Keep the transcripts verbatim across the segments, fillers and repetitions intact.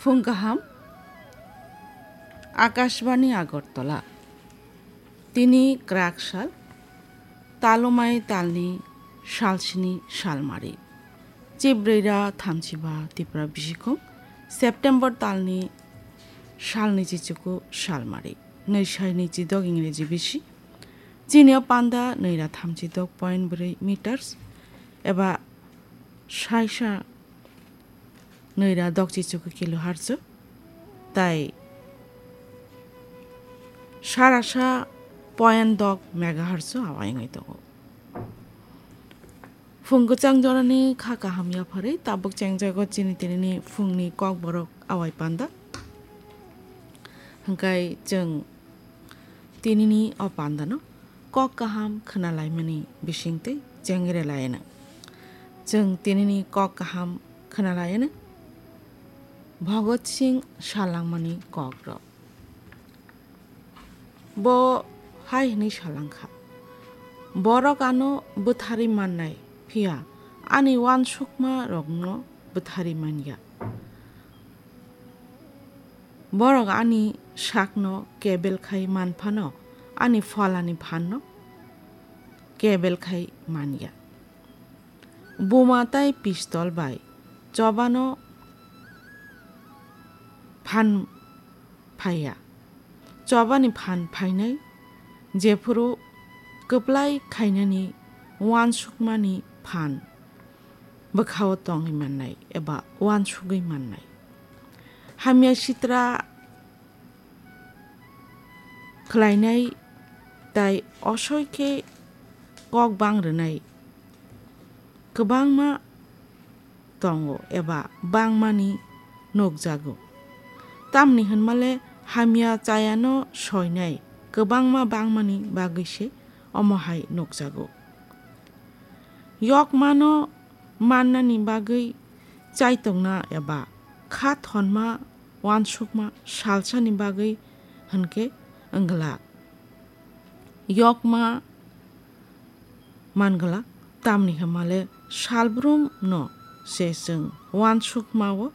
Phung kaham, Akashbani Agartala. Tini kwrak sal, talumai talni salsini salmari. Chibrwira thamchiba Tipra bisikhung, September talni salni chichuku salmari. Nwi sai nwi chidok Ingreji bisi. Chini o panda nwi ra thamchi dok point bwrwi meters eba saisa nwi ra dok chichuku kilohertz, tai sarasa point dok megahertz awa wngwi tongo. Phung kwchang jorani kha kaham yapharwi tabuk chengjago chini tinini phungni kokborok awai panda. Hwnkhe chwng tinini o pandano kok kaham khwnalaimani bisingtwi chengrelaino. Chwng tinini kok kaham khwnalaino Bhagat Singh salangmani kokrok. Bo hai hwnwi salangkha, "Borok ano bwtharwi mannai, phiya ani uansukmarokno bwtharwi manya. Borok ani sakno kebel khai man phano, ani pholani phanno kebel khai manya. Buma tai pistol bai chobano phan phaiya. Chobani phan phainai, jephuru kwplai khainani uansukmani phan bwkhao tongwi mannai eba uansugwi mannai. Hamya sitra khlainai tai osoi khe kok bang rwnai kwbangma tongo eba bangmani nukjago. Tamni hwnmale hamya chayano soinai kwbangma bangmani bagwi se omo hai nukjago. Yokmano mannani bagwi chaitokna eba kha thonma uansukma salsani bagwi hwnkhe wngla. Yokma mangla, tamni hwnmale salbrumno se chwng uansukmao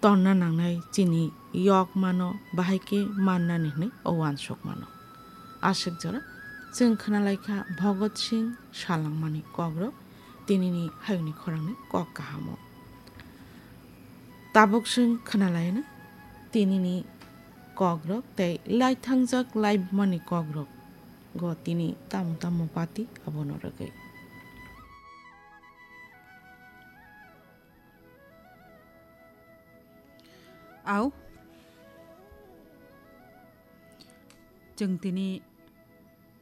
tonna nangnai, chini yokmano bahai khe mannani hwnwi o uansukmano. Aswk jora chwng khwnalaikha Bhagat Singh salangmani kokrok tinini hayungni khorangni kok kahamo. Tabuk chwng khwnalaino tinini kokrok tei laithangjak laibumani kokrok. Go tini tamo tamo pati abono rwgwi. Au, chwng tini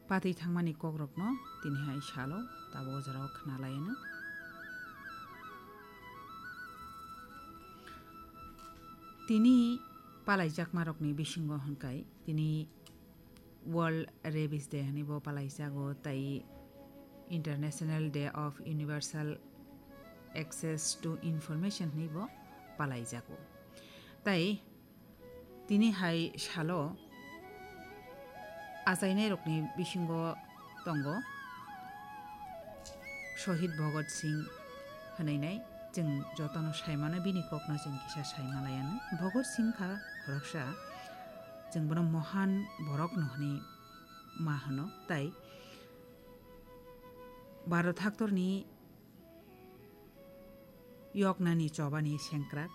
pati thangmani kokrokno tini hai salo tabuk o jorao khwnalaino. Tini palaijakmarokni bisingo hwnkhai tini World Rabies Day hwnwi bo palaijago, tai International Day of Universal Access to Information hwnwi bo palaijago. Tai tini hai salo achainairokni bisingo tongo Shohid Bhagat Singh hwnwi nai, chwng jotono saimano bini kokno chwng kisa saimalaiano. Bhagat Singh kha khoroksa, chwng bono mohan borokno hwnwi ma hwno, tai Bharat haktorni yoknani chobani sengkrak.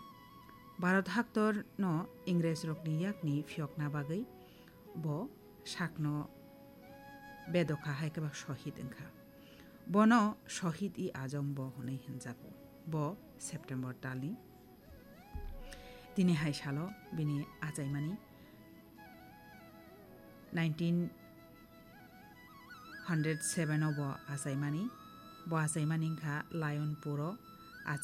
Bharat haktorno Ingrejrokni yakni phiyokna bagwi bo sakno bedokha hai khe ba shohid wngkha. Bono Shohid-i Azam bo hwnwi hwnjago. Bo September talni tini hai salo bini achaimani nineteen hundred seven o bo achaimani. Bo achaimani wngkha Lionpuro